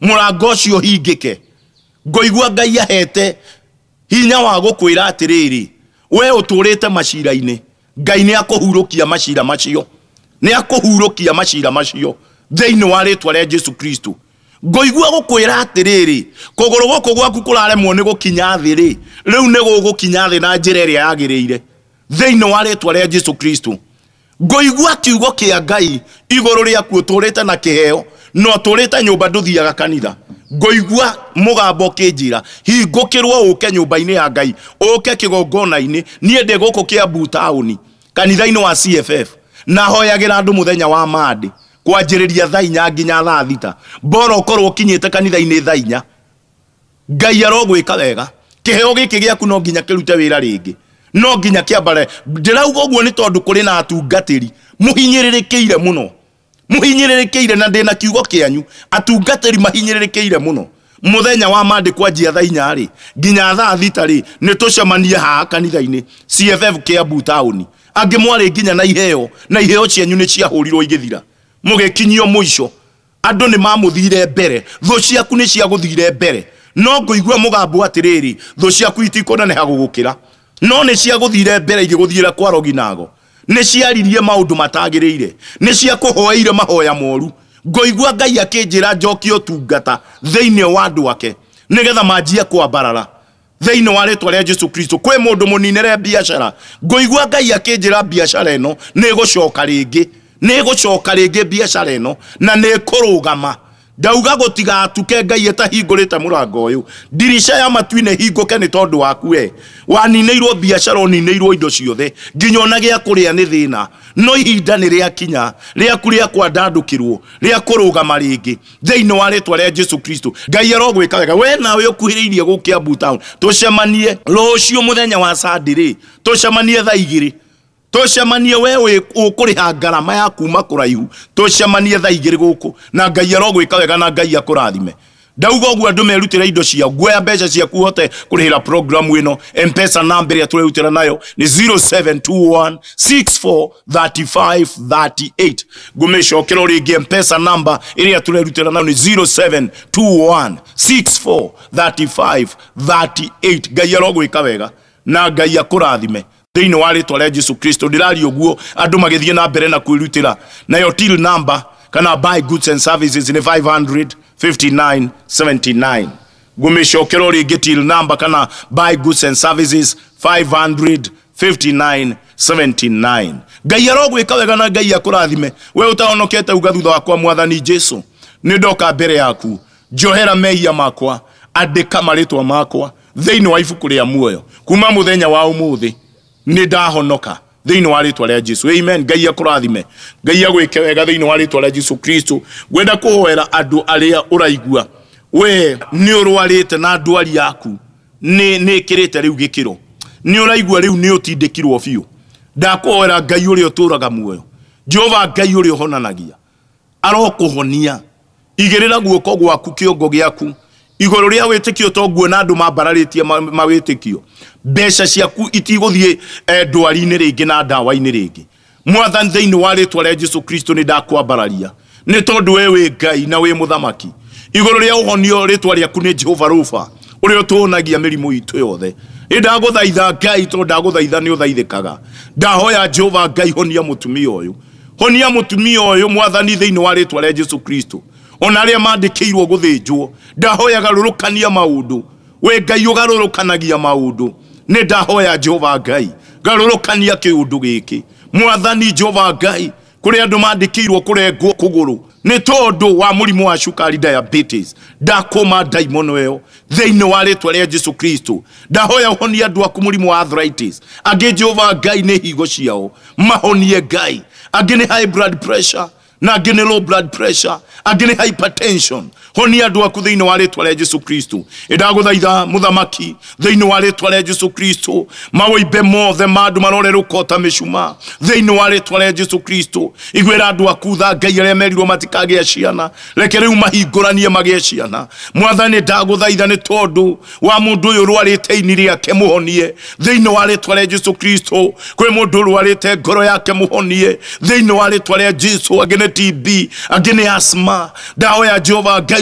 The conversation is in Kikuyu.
Mũrango ũcio ũhingĩke. Ngũigua Ngai ahete hinya wa gũkwĩra atĩrĩrĩ, we ũtũrĩte macira-inĩ, Ngai nĩ akũhurũkia macira macio, nĩ akũhurũkia macira macio thĩinĩ wa rĩtwa rĩa Jesu Kristo. Ngũigua gũkwĩra atĩrĩrĩ, kũgũrũ gũkũ gwaku kũraremwo nĩ gũkinya thĩ rĩ, rĩu nĩ gũgũkinya thĩ na njĩra ĩrĩa yagĩrĩire thĩinĩ wa rĩtwa rĩa Jesu Kristo. Ngũigua kiugo kĩa Ngai igũrũ rĩaku, ũtũrĩte na kĩheo na ũtũrĩte nyũmba ndũthiaga kanitha. Ngũigua mũgambo ũkĩnjĩra hingũkĩrwo ũke nyũmba-inĩ ya Ngai, ũke kĩgongona-inĩ. Niĩ ndĩ gũkũ Kiambu taũni kanitha-inĩ wa CFF, na hoyagĩra andũ mũthenya wa Monday kwanjĩrĩria thaa 4 nginya thaa 6. Bora ũkorwo ũkinyĩte kanitha-inĩ thaa 4. Ngai arogwĩka wega. Kĩheo gĩkĩ gĩaku no nginya kĩrute wĩra rĩngĩ, no nginya kĩambare. Ndĩrauga ũguo nĩ tondũ kũrĩ na atungatĩri mũhinyĩrĩrĩkĩire mũno, mũhinyĩrĩrĩkĩire, na ndĩna kiugo kĩanyu, atungatĩri mahinyĩrĩrĩkĩire mũno. Mũthenya wa Monday kwanjia thaa 4 rĩ nginya thaa 6 rĩ, nĩ tũcemanie haha kanitha-inĩ CFF Kiambu taũni. Angĩ mwarĩ nginya na iheo, na iheo cianyu nĩ ciahũrirwo igĩthira, mũgĩkinyio mũico. Andũ nĩ mamũthire mbere, thũ ciaku nĩ ciagũthire mbere, no ngũigua mũgambo atĩrĩrĩ, thũ ciaku itikũneneha gũgũkĩra, no nĩ ciagũthire mbere igĩgũthiĩra kwa roginago. Nĩ ciaririe maũndũ matagĩrĩire, nĩ ciakũhoeire mahoya moru. Ngũigua Ngai akĩnjĩra njokie ũtungata thĩinĩ wa andũ ake nĩgetha manjie kwambarara thĩinĩ wa rĩtwa rĩa Jesu Kristo. Kwĩ mũndũ mũninĩre biacara, ngũigua Ngai akĩnjĩra biacara ĩno nĩ ĩgũcoka rĩngĩ, nĩ ĩgũcoka rĩngĩ biacara ĩno na nĩ ĩkũrũgama. Ndauga gũtigatuke Ngai ĩtahingũrĩte mũrango ũyũ, ndirica ya matu-inĩ hingũke nĩ tondũ waku. We waninĩirwo biacara, ũninĩirwo indo ciothe, nginya ona gĩa kũrĩa nĩ thĩna, no ihinda nĩ rĩakinya rĩaku rĩa kwandandũkĩrwo, rĩa kũrũgama rĩngĩ thĩinĩ wa rĩtwa rĩa Jesu Kristo. Ngai arogwĩka wega. We nawe ũkuhĩrĩirie gũkũ Kiambu town, tũcemanie rũciũ mũthenya wa Sunday rĩ, tũcemanie thaa 2, tũcemanie. We ũkũrĩha ngarama ya kuma kũraihu, tũcemanie thaa 2 gũkũ, na Ngai arogwĩka wega na Ngai akũrathime. Ndauga ũguo andũ merutĩre indo ciao. Nguoya mbeca ciaku ũhote kũrĩhĩra program ĩno. M-Pesa namba ĩrĩa tũrerutĩra nayo nĩ 0721 64 35 38. Ngũmĩcokera rĩngĩ, M-Pesa namba ĩrĩa tũrerutĩra nayo nĩ 0721 64 35 38. Ngai arogwĩka wega na Ngai akũrathime thĩinĩ wa rĩtwa rĩa Jesu Kristo. Ndĩraria ũguo andũ magĩthiĩ na mbere na kwĩrutĩra. Nayo till number kana buy goods and services nĩ 559 79. Ngũmĩcokera rĩngĩ, till number kana buy goods and services 559 79. Ngai arogwĩka wega na Ngai akũrathime. We ũtahonokete, uga thutha wakwa, Mwathani Jesu, nĩ ndoka mbere yaku, njohera mehia makwa, andĩka marĩtwa makwa thĩinĩ wa ibuku rĩa muoyo. Kuma mũthenya wa ũmũthĩ nĩ ndahonoka thĩinĩ wa rĩtwa rĩa Jesu. Amen. Ngai akũrathime, Ngai agwĩke wega thĩinĩ wa rĩtwa rĩa Jesu Kristo. Ngwenda kũhoera andũ arĩa ũraigua we nĩ ũrwarĩte na ndwari yaku nĩ ĩkĩrĩte rĩu gĩkĩro, nĩ ũraigua rĩu nĩ ũtindĩkirwo biũ. Ndakũhoera Ngai ũrĩa ũtũraga muoyo, Jehova Ngai ũrĩa ũhonanagia, arokũhonia. Igĩrĩra guoko gwaku kĩongo gĩaku igũrũ rĩa wĩtĩkio, to nguona andũ mambararĩtie mawĩtĩkio. Mbeca ciaku itigũthiĩ ndwari-inĩ rĩngĩ na ndawa-inĩ rĩngĩ. Mwathani, thĩinĩ wa rĩtwa rĩa Jesu Kristo, nĩ ndakwambararia nĩ tondũ we wĩ Ngai na wĩ mũthamaki igũrũ rĩa ũhonio. Rĩtwa rĩaku nĩ Jehova Rufa, ũrĩa ũtũhonagia mĩrimũ itũ yothe. Nĩ ndagũthaitha Ngai, tondũ ndagũthaitha nĩ ũthaithĩkaga. Ndahoya Jehova Ngai, honia mũtumia ũyũ, honia mũtumia ũyũ, Mwathani, thĩinĩ wa rĩtwa rĩa Jesu Kristo. Ona arĩa mandĩkĩirwo gũthĩnjwo, ndahoya garũrũkania maũndũ. We Ngai ũgarũrũkanagia maũndũ, nĩ ndahoya Jehova Ngai, garũrũkania kĩũndũ gĩkĩ, Mwathani Jehova Ngai. Kũrĩ andũ mandĩkĩirwo kũrengwo kũgũrũ nĩ tondũ wa mũrimũ wa cukari, diabetes, ndakũma ndaimono ĩyo thĩinĩ wa rĩtwa rĩa Jesu Kristo. Ndahoya ũhonie andũ aku mũrimũ wa arthritis. Angĩ, Jehova Ngai, nĩ higo ciao, mahonie Ngai. Angĩ nĩ high blood pressure, na angĩ nĩ low blood pressure, angĩ nĩ hypertension. Honia andũ aku thĩinĩ wa rĩtwa rĩa Jesu Kristo. Ĩndagũthaitha mũthamaki, thĩinĩ wa rĩtwa rĩa Jesu Kristo, mawĩimbe mothe ma andũ marorerũka ta mĩcumaa thĩinĩ wa rĩtwa rĩa Jesu Kristo. Iguĩra andũ aku tha, Ngai. Arĩa merirwo matikagĩa ciana, reke rĩu mahingũranie magĩe ciana. Mwathani, ndagũthaitha nĩ tondũ wa mũndũ ũyũ ũrwarĩte ini rĩake, mũhonie thĩinĩ wa rĩtwa rĩa Jesu Kristo. Kwĩ mũndũ ũrwarĩte ngoro yake, mũhonie thĩinĩ wa rĩtwa rĩa Jesu. Angĩ nĩ TB, angĩ nĩ asthma. Ndahoya Jehova Ngai.